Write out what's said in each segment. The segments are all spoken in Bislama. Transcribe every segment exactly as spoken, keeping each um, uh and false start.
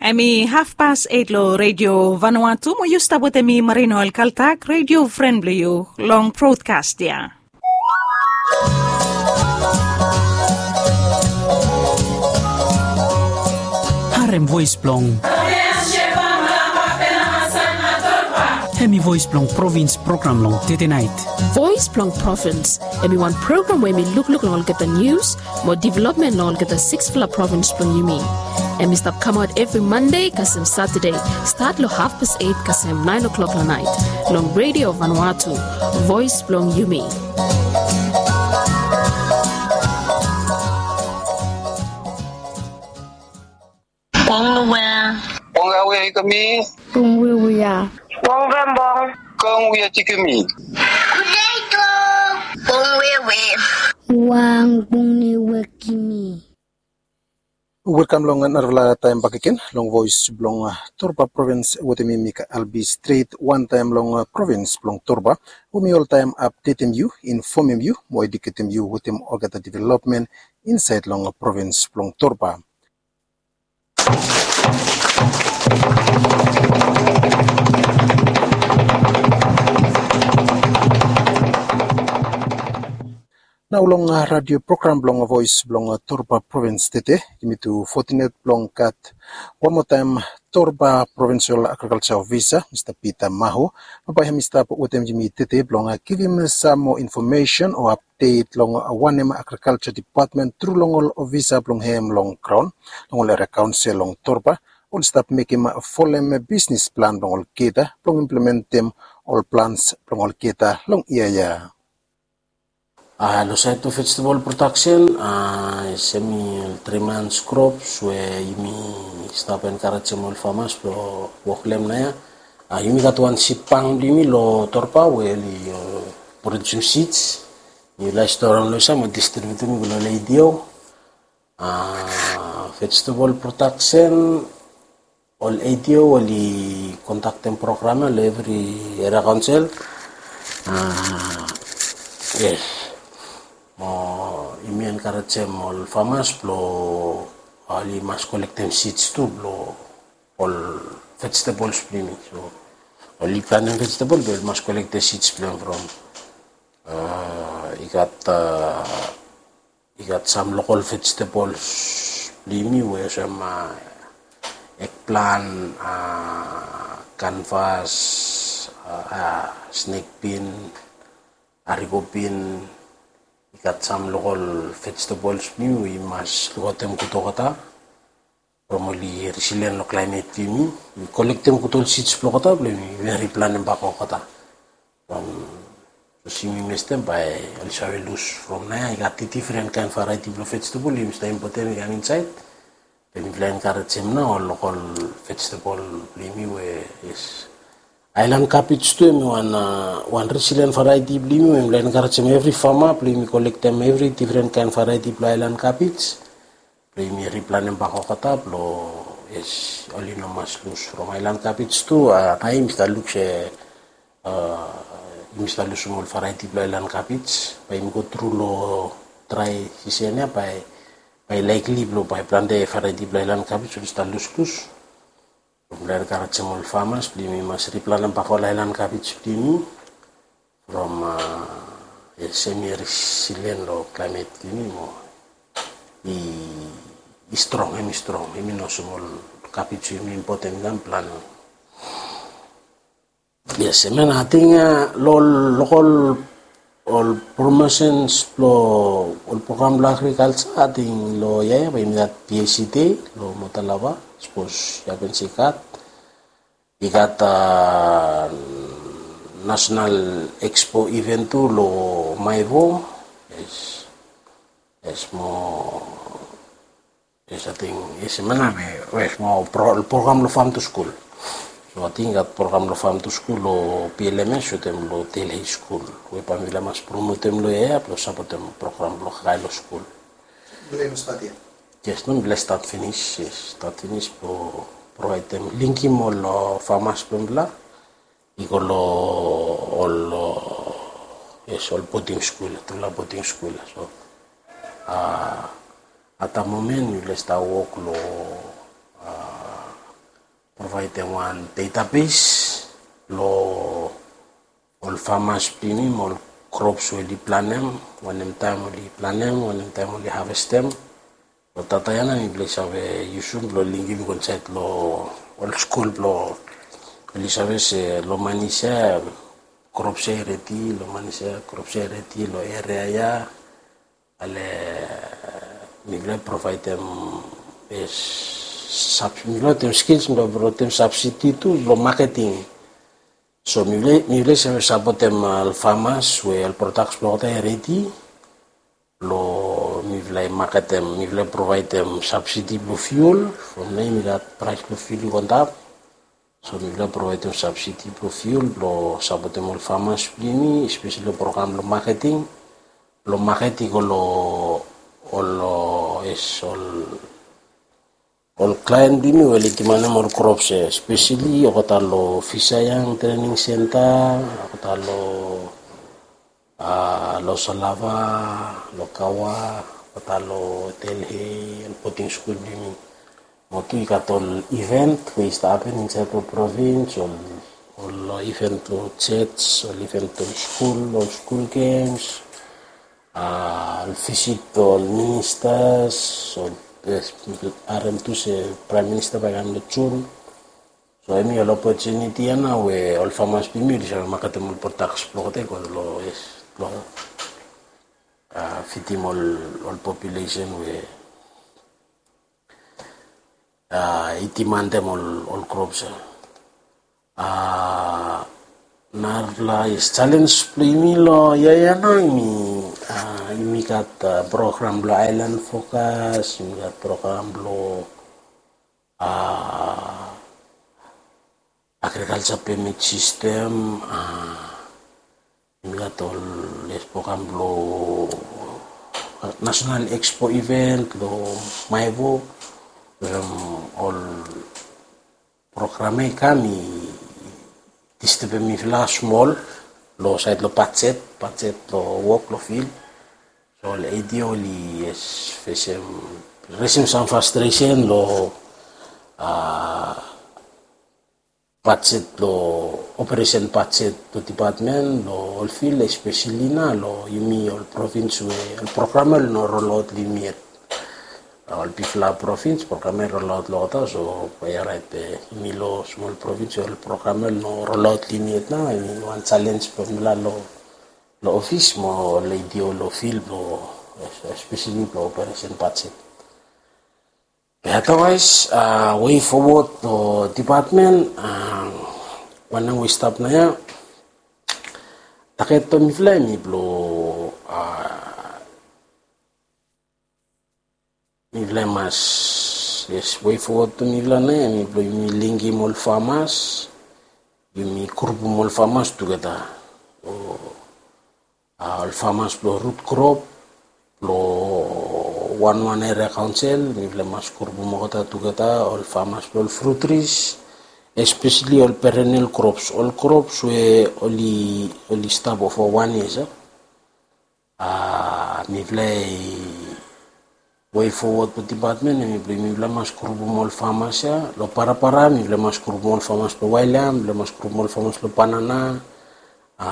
Hemi hafpas eit long Redio Vanuatu, mo yu stap wetem mi, Marino Alkaltak, redio fren blong yu, long brodkas ya. Harem voes blong, hemi voes blong provins program long tedenait. Voes blong Provins, hemi wan program we hemi lukluk long olgeta nius mo developmen long olgeta siksfala provins blong yumi. Hemi stap kamaot evri Mande kasem Satade, stat long hafpas eit kasem naen o'klok long naet, long Redio Vanuatu, voes blong yumi. Bong Noel. Bong Awea Ikami. Bong Wewea. Bong Vembong. Bong Wia Tikimi. Potato. Bong Wewe. Wang Bong Niwekimi. Welkam long narafala taem bakegen long voes blong, ah, Torba provins wetem mi, Mika Albi, stret wantaem long, ah, provins blong Torba, we mi oltaem apdetem yu, infomem yu mo eduketem yu wetem olgeta developmen insaed long provins blong Torba. Nao long, ah, radio program blong voes blong, ah, Torba provins tede, yumi tu fotinet blong gat wan moa taem Torba Provincial Agriculture Officer, Mista Peter Maho, bae hemi stap wetem yumi tede blong, ah, givim sam moa infomesen o apdet long, ah, wanem Agriculture Department tru long ol ofisa blong hem long graon, long ol eria kaonsel long Torba, oli stap mekem folem bisnis plan blong olgeta blong implementem ol plans blong olgeta long yia ya. Ah, long saed blong vegetable production, ah, hemi ol tri mans krops we yumi stap enkarejem ol famas blong wok long hem naoia. Ah, yumi gat wan sid bank blong yumi long Torba we oli, ah, produsem sids. Yumi lae stoaem long hemia mo distribiutem i go long ol A D O. Ah, vegetable production, ol A D O oli kondaktem program ya long evri eria kaonsel. Ah, yes. Mo yumi enkarejem ol famas blong oli mas kolektem sids tu blong ol vegetables blong yumi. So oli plantem vegetable, be oli mas kolektem sids blong hem from, ah, i gat, ah, i gat sam lokol vegetables blong yumi we olsem, ah, eggplant, ah, canvas, ah, ah, snake bean, haricot bean. I gat sam lokol vegetables blong yumi we yumi mas lukaotem gud olgeta from oli resilient long klaemet blong yumi. Yumi kolektem gud ol sids blong olgeta blong yumi riplantem bak olgeta. From sapos yumi mestem bae oli save lus from naoia. I gat difren kaen variety blong vegetable yumi stap impotem i kam insaed. Be mifala enkarejem nao ol lokol vegetable blong yumi we, yes. Aelan kabej tu hemi wan, ah, wan resilient variety blong yumi we mifala enkarejem evri fama blong yumi kolektem evri difren kaen variety blong aelan kabej blong yumi riplantem bak olgeta blong, yes, oli no mas lus from aelan kabej tu. Ah, naoia yumi stap luk se, ah, yumi stap lusum ol variety blong aelan kabej, bae yumi go tru long drae sisen ya bae, bae likely blong bae plante variety blong aelan kabej oli stap luslus. Mifala enkarejem ol famas blong yumi mas riplantem bak ol aelan kabej blong yumi from, ah, hemi resilient long klaemet blong yumi mo i, i strong, hemi strong, hemi no olsem ol kabej we yumi impotem i kam plant. Yes, hemia nao ating, ah, long lokol ol promotions blong ol program blong agriculture, ating long yia ya bae yumi gat P A C Day long Motalava, sapos yu hapen se i gat. I gat, ah, National Expo event tu long Maewo. Yes. Yes, mo, yes, ating, yes, hemia nao, yes, mo pro-, program long Farm to School. So ating i gat program long Farm to School long P L M S wetem long Dale High School we bae mifala mas promotem long yia ya blong sapotem program blong kakae long skul. Mifala i no stat yet? Yes, no, mifala i stat finis, yes, stat finis blong provaedem, linkem ol, ah, famas blong mifala i go long ol, ah, yes, ol boding skul, tufala boding skul. So, ah, at the moment mifala i stap wok long, ah, provaedem wan database lo ol famas blong yumi mo ol krops we oli planem, wanem taem oli planem, wanem taem oli havestem. Lo data ya nao mifala i save yusum blo lingim i go insaed lo ol skul blo oli save se lo manis ya krops ya i redi, lo manis ya krops ya i redi lo eria ya. Ale mifala i provaedem, mifala wetem skils, mifala i provaedem sabsidi tu blo maketing. So mifala i save sapotem ol famas we ol prodaks blo olgeta i redi blo mifala i maketem, mifala i provaedem sabsidi blo fiul. From nao yumi gat praes blo fiul i go antap. So mifala i provaedem sabsidi blo fiul blo sapotem ol famas blo yumi, espeseli lo program blo maketing. Blo maket i go lo ol, ol klaen blo yumi we oli dimanem ol krops ya, espeseli olgeta lo Fisayang Trening Senta, olgeta lo, a, lo Salava, lo Kawa, olgeta lo Delhi, ol boding skul blo yumi. Mo tu i gat ol iven we i stap hapen insaed lo provins, ol, ol iven lo joj, ol iven lo skul, ol skul gems, a, ol visit lo ol ministas, ol, harem tu se Praem Minista bae i kam lo Jun. So hemi ol opotuniti ya nao we ol famas blo yumi oli save maketem ol prodaks blo olgeta i go lo, yes, blo, a, fidim ol, ol populesen we, a, i dimandem ol, ol krops ya. A, narafala, yes, jalenj blo yumi lo yia ya nao yumi, a, yumi gat, a, program blo Island Focus, yumi gat program blo, a, agriculture permit system, a, yumi gat ol, yes, program blo, a, National Expo event lo Maewo, we ol program ya i kam i distebem mifala smol lo saed lo bajet, bajet lo wok lo fil. So ol ADO oli, yes, fesem, resem sam frastresen lo, a, bajet lo, operesen bajet lo dipatmen lo ol fil, espeseli nao lo yumi ol provins we ol program ya oli no rolaot lo yumi yet. Ol bigfala provins program ya i rolaot lo olgeta, so bae i oraet be yumi lo smol provins we ol program ya oli no rolaot lo yumi yet nao, hemi wan jalenj blo mifala lo, lo ofis mo ol ADO lo fil blo, espeseli blo operesen bajet. Be otherwise, a, wei fowod lo dipatmen, a, wanem we i stap naoia, taget blo mifala hemi blo, a, mifala i mas, yes, wei fowod blo mifala naoia hemi blo yumi lingim ol famas, yumi grupum ol famas tugeta. O, a, ol famas blo rut krop blo wanwan eria kaonsel, mifala i mas grupum olgeta tugeta, ol famas blo ol frut tris, espeseli ol perenel krops, ol krops we oli, oli stap fo wan yia, a, mifala i wei fowod blo dipatmen hemi blo mifala i mas grupum ol famas ya. Lo Barabara mifala i mas grupum ol famas blo wael yam, mifala i mas grupum ol famas blo banana, a,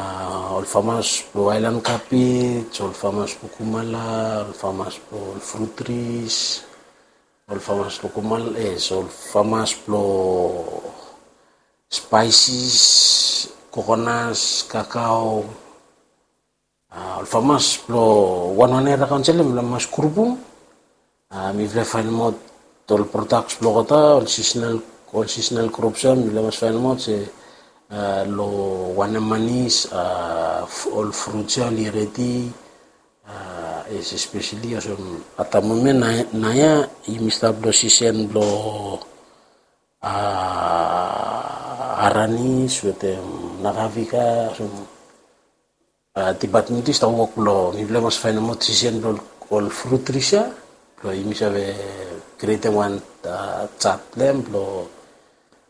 ol famas blo aelan kabej, ol famas blo kumala, ol famas blo ol frut tris, ol famas blo kumala, yes, ol famas blo spaisis, kokonas, kakao, a, ol famas blo wanwan eria kaonsel ya mifala i mas grupum. A, mifala i faenemaot ol prodaks blo olgeta, ol seasonal, ol seasonal krops ya mifala i mas faenemaot se, a, lo wanem manis, a, ol fruts ya oli redi, a, espeseli olsem at the moment naoia yumi stap lo sisen blo, a, aranis wetem nakavika, olsem, a, dipatmen tu i stap wok blo mifala i mas faenemaot sisen blo ol frut tris ya blo yumi save krietem wan, a, jat blo hem blo,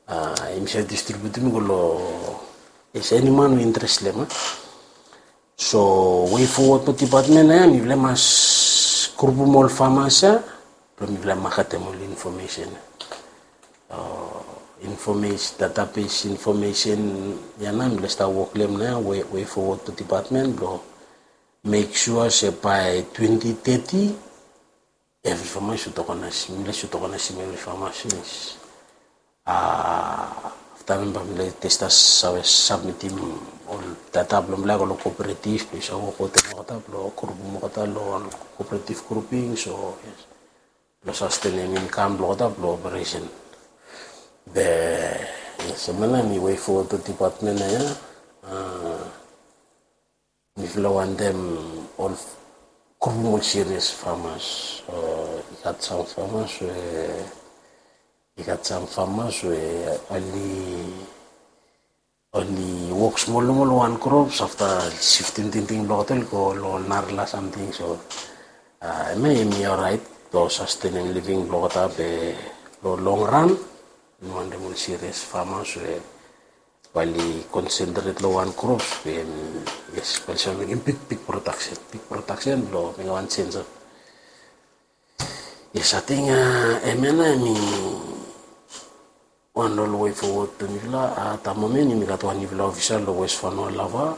a, yumi save distribiutem i go lo, yes, eni man we intres lo hem, a. So wei fowod blo dipatmen ya mifala i mas grupum ol famas ya blo mifala i maketem ol infomesen ya. O, information, database information ia nao mifala stap wok long hem nao, way forward to department blong make sure se by twenty thirty every farmers should organize, mifala should organize every farmers finish. Afta nao bae mifala start save submitim ol data blong mifala i go long cooperative blong i save wok wetem olgeta blong grupum olgeta long ol cooperative grouping, so yes, blong sustenem income blong olgeta blong operation. Be yes, hemia nao mi way forward to department ia. Mifala wantem ol grupum ol serious farmers. I gat sam farmers we, i gat sam farmers we oli, oli wok smol long ol wan crops, afta siftim tingting blong olgeta oli go long ol narala samting. So hemia hemi orait blong sustenem living blong olgeta, be long long run mi wantem ol serious farmers we bae oli concentrate long wan crops, be yes, bae oli save mekem big big production, big production blong mekem wan change. Yes, ating hemia nao hemi wan long ol way forward blong mifala. At the moment yumi gat wan nifala ofisa long West Vanua Lava.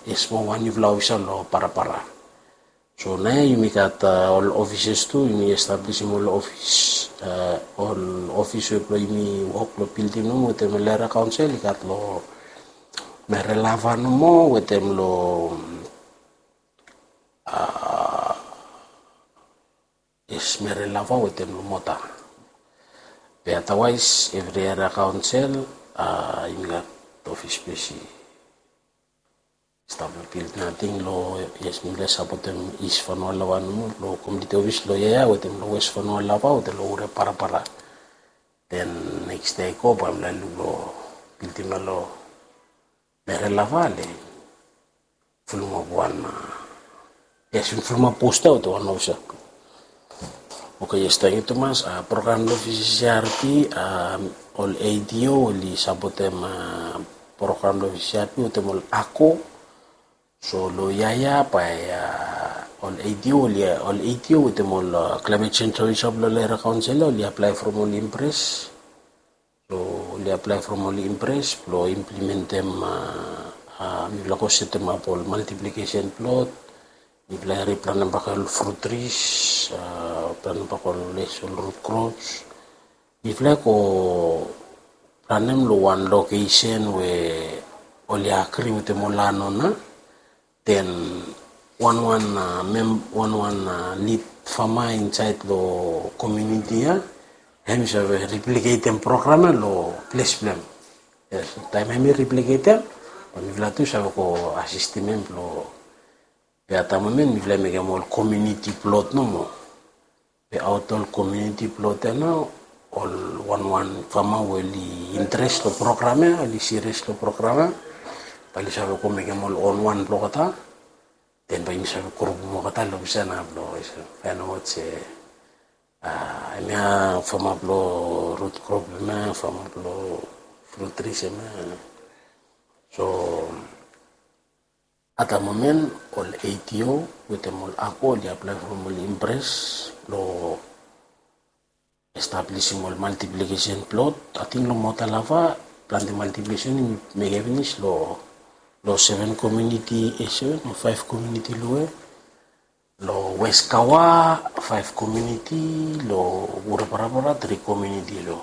Yes, mo wan nifala ofisa long Parapara. So nao ia yumi gat ol offices tu, yumi establishim ol office, ol office we blong yumi wok long bildim nomo wetem ol area council i gat long Merelava nomo wetem long yes, Merelava wetem long Mota. Be otherwise every area council yumi gat office ples i stap long bildim. Ating long yes, mifala sapotem East Vanua Lava nomo long community office long ia wetem long West Vanua Lava wetem long Ure Parapara. Then next day i go bae mifala luk long bildim ia long Merelava long fulumap wan, yes, fulumap posta wetem wan ofisa. Okay, yes, tangkiu tumas. Program long V C C R P, ol A D O oli sapotem program long V C C R P wetem ol ako. So long ia ia bae ol A D O oli, ol A D O wetem ol climate change officer blong ol area council oli apply from ol IMPRESS. So oli apply from ol IMPRESS blong implementem, mifala go setemap ol multiplication plot, mifala riplanem bak ol fruit trees, planem bak ol les ol root crops. Mifala go planem long wan location we oli agree wetem ol landowner. Then wanwan mem, wanwan lead farmer insaed long community ia, hem i save replicatem program ia long ples blong hem. Yes, taem hem i replicatem, bae mifala tu save go asistem hem blong, be at the moment mifala mekem ol community plot nomo. Be aot ol community plot ia nao ol wanwan farmer we oli interest long program ia, oli serious long program ia, bae oli save go mekem ol own wan blong olgeta. Then bae yumi save grupum olgeta long ofisa nao blong faenem aot se hemia farmer blong root crop, hemia farmer blong fruit trees, hemia. So at the moment ol A D O wetem ol ako oli apply from ol IMPRESS blong establishim ol multiplication plot. Ating long Mota Lava plante multiplication yumi mekem finis long, long seven community, e seven o five community long we, long West Kawa five community, long Ure Parapara three community. Long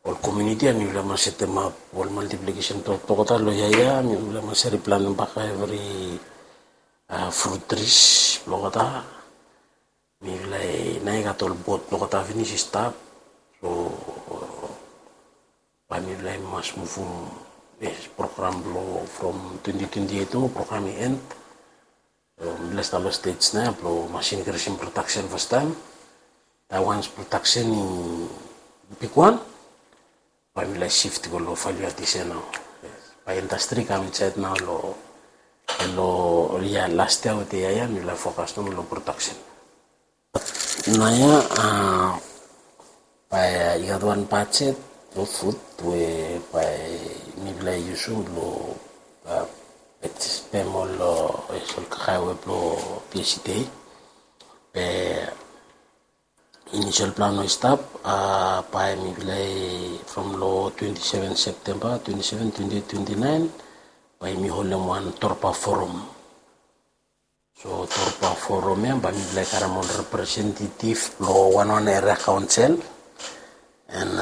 ol community ia mifala mas setemap ol multiplication plot blong olgeta. Long ia ia mifala mas riplanem bak evri fruit trees blong olgeta. Mifala nao i gat ol bot blong olgeta finis i stap. So bae mifala i mas muvum, yes, program blong from twenty twenty eight o program i end. So mifala stap long stage nao ia blong mas inkrisim production fastaem. Taem wans production i bigwan, bae mifala i shift go long value addition nao. Bae industry i kam insaed nao long, long ia last ia wetem ia ia mifala i focus nomo long production. Nao ia bae i gat wan budget blong food we bae mifala i yusum long pem ol, ol kakae we blong P S C D. Be inisial plan we i stap, bae mifala i from long twenty seven September, twenty seven, twenty eight, twenty nine, bae mi holem wan Torba Forum. So Torba Forum ia bae mifala i karem ol representative blong wanwan eria kaonsel. And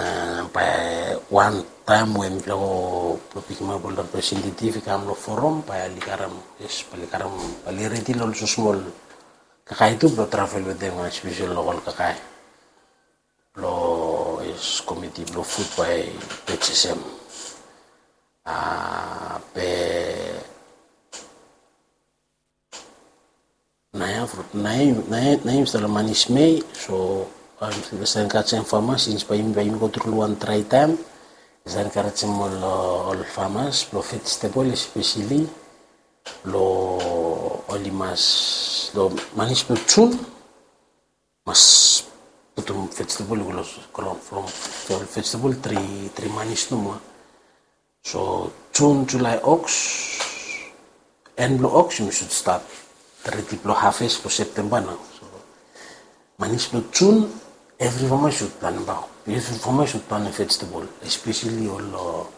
bae wan taem we mifala go blong pikimap ol representative i kam long forum, bae oli karem, yes, bae oli karem, bae oli redi long ol smosmol kakae tu blong travel wetem, especially long ol kakae blong, yes, komiti blong fut bae purchase hem. Be naoia, naoia, naoia mi stap long manis mei. So bae mi stap enkarejem famas, sins bae yumi, bae yumi go tru long wan drae taem. Mi stap enkarejem ol, ol famas blong vegetable especially, blong oli mas, long manis blong Jun mas putum vegetable i go long graon from, from vegetable tri, tri manis nomo. So Jun, Julae, Ogos, en blong Ogos yumi sud stat redi blong harvest blong September nao. So manis blong Jun, evri famas sud planem, evri famas sud planem vegetable, especially ol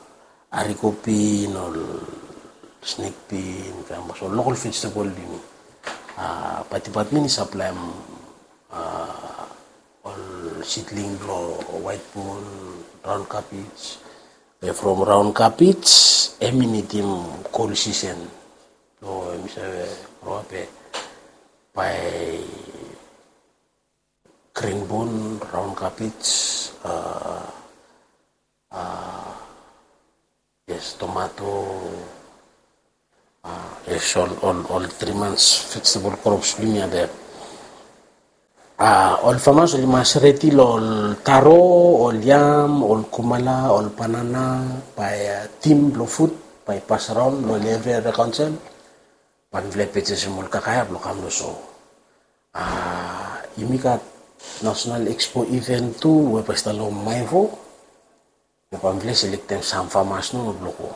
arikobin, ol snake bean, kaen, so lokol vegetable blong yumi. Bae department i saplaem ol seedling blong white bean, round cabbage. Be from round cabbage hemi nidim cool season blong hemi save grow ap. Be bae green bean, round cabbage, yes, tomato, yes, ol, ol, ol tri manis vegetable crops blong yumi ia. Ol famas oli mas redi long ol taro, ol yam, ol kumala, ol banana, bae tim blong fut bae i pasaraon long evri eria kaonsel. Bae mifala i purchase hem ol kakae ia blong kam long so. Yumi gat National Expo event tu we bae i stap long Maevo. Bae mifala i selektem sam famas nomo blong go,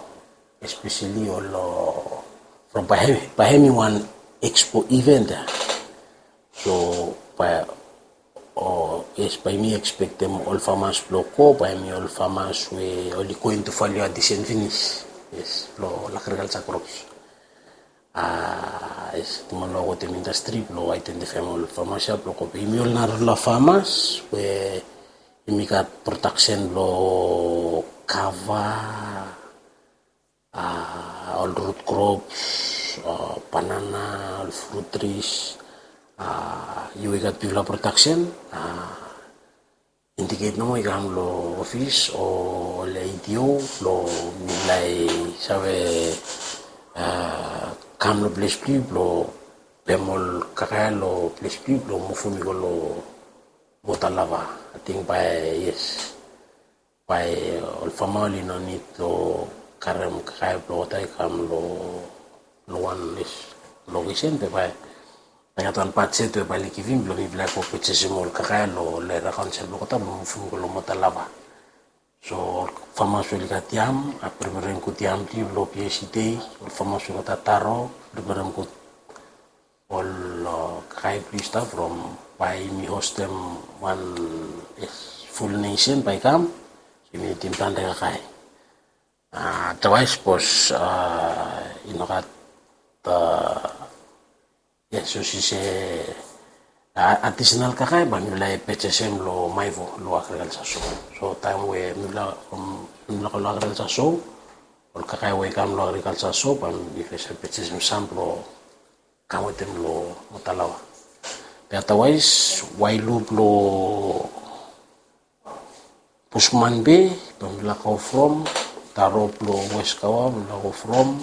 especially ol, from bae hemi, bae hemi wan expo event ia. So bae, yes, bae yumi expectem ol famas blong go bae hemi ol famas we oli go into value addition finis, yes, blong ol agriculture crops. Yes, tumas long wetem industry blong identify ol famas ia blong go. Be yumi ol narafala famas we yumi gat production blong kava, ol root crops, banana, ol fruit trees. Yu we gat bigfala production, indicate nomo i kam long office o long A D O blong mifala i save kam long ples blong yu blong pem ol kakae long ples blong yu blong muvum i go long Mota Lava. Ating bae, yes, bae ol fama oli no nid long karem kakae blong wota i kam long, long wan, yes, lokesen be bae i gat wan bajet we bae oli givim blong mifala i go purchasem ol kakae long eria kaonsel blong Kota blong muvum i go long Mota Lava. So ol famas we oli gat yam, preparem gud yam blong yu blong P S C dei. Ol famas we oli gat taro, preparem gud ol kakae blong yu stap from bae yumi hostem wan full nation bae i kam. So yumi nidim plante kakae. Otherwise sapos i no gat, yes, sapos i se additional kakae bae mifala i purchasem long Maevo long agriculture show. So taem we mifala, mifala go long agriculture show, ol kakae we i kam long agriculture show bae mifala i save purchasem sam blong kam wetem long Mota Lava. Be otherwise Wailu blong Bushman Bay bae mifala go from, taro blong West Kawa mifala go from,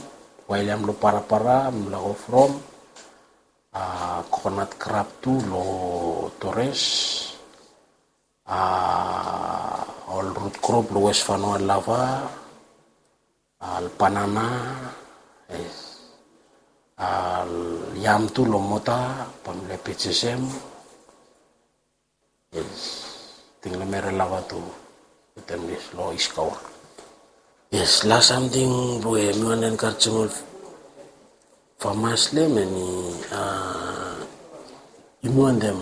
wael yam blong Parapara mifala go from, coconut crop tu long Torres, ol root crop long West Vanua Lava, ol banana, ol yam tu long Mota bae mifala i purchasem. Yes, ting long Mota Lava tu wetem, yes, long East Kawa. Yes, las samting we mi wantem enkarejem ol famas long hem hemi, yumi wantem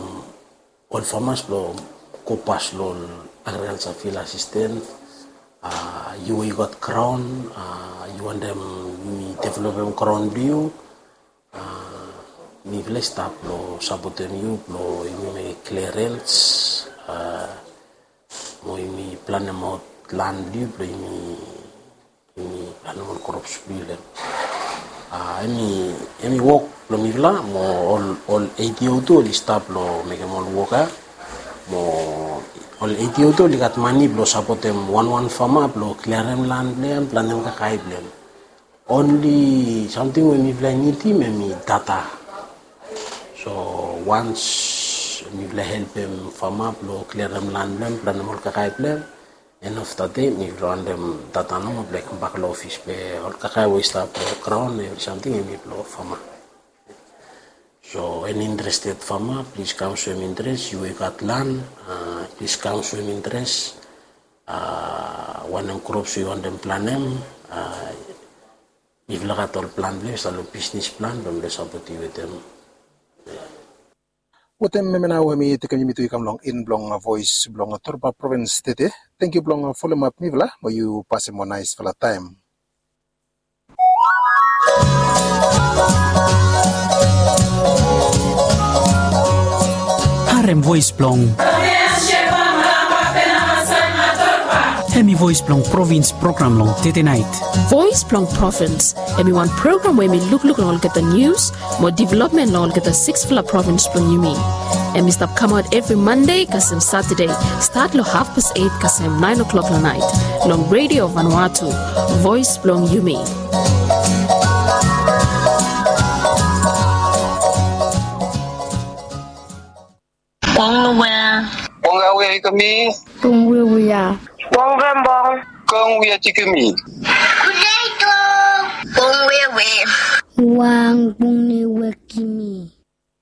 ol famas blong go pas long ol agrikalsa fil asisten. Yu we yu gat graon, yu wantem yumi developem graon blong yu, mifala i stap long sapotem yu blong yumi mekem klerens, mo yumi planemaot lan blong yu blong yumi yumi planem ol krops blong yu long hem. Hemi wok blong mifala mo ol eitiou tu oli stap long mekem ol wok ya. Mo ol eitiou tu oli gat mane blong sapotem wanwan fama blong kliarem lan blong hem, planem kakae blong hem. Onli samting we mifala i nidim hemi data. So wans mifala i helpem fama blong kliarem lan blong hem, planem ol kakae blong hem, en of dade mifala i wantem data nomo blong i kambak long ofis be ol kakae we i stap long graon evri samting hemi blong fama. So eni interested fama, plis kam soem interes. Yu we yu gat lan, plis kam soem interes. Wanem krops we yu wantem planem, mifala i gat ol plan blong yu, i stap long bisnis plan blong mifala i sapotem yu wetem. Wetem hemia nao hemi tekem yumi tu i kam long en blong voes blong Torba provins tede. Tangkiu blong folem ap mifala, mo yu pasem wan naesfala taem. Harem voes blong hemi voes blong provins program long tede naet. Voes blong provins hemi wan program we hemi lukluk long olgeta nius mo developmen long olgeta siksfala provins blong yumi. Hemi stap kamaot evri Mande kasem Satade, stat long hafpas eit kasem naen oklok long naet, long Redio Vanuatu, voes blong yumi. Bong Noel. Bong Awea Ikemi. Bong Wewea. Bong Rembong. Kong Wea Tikemi. Kuleito. Bong Wewe. Wang Bong Newekimi.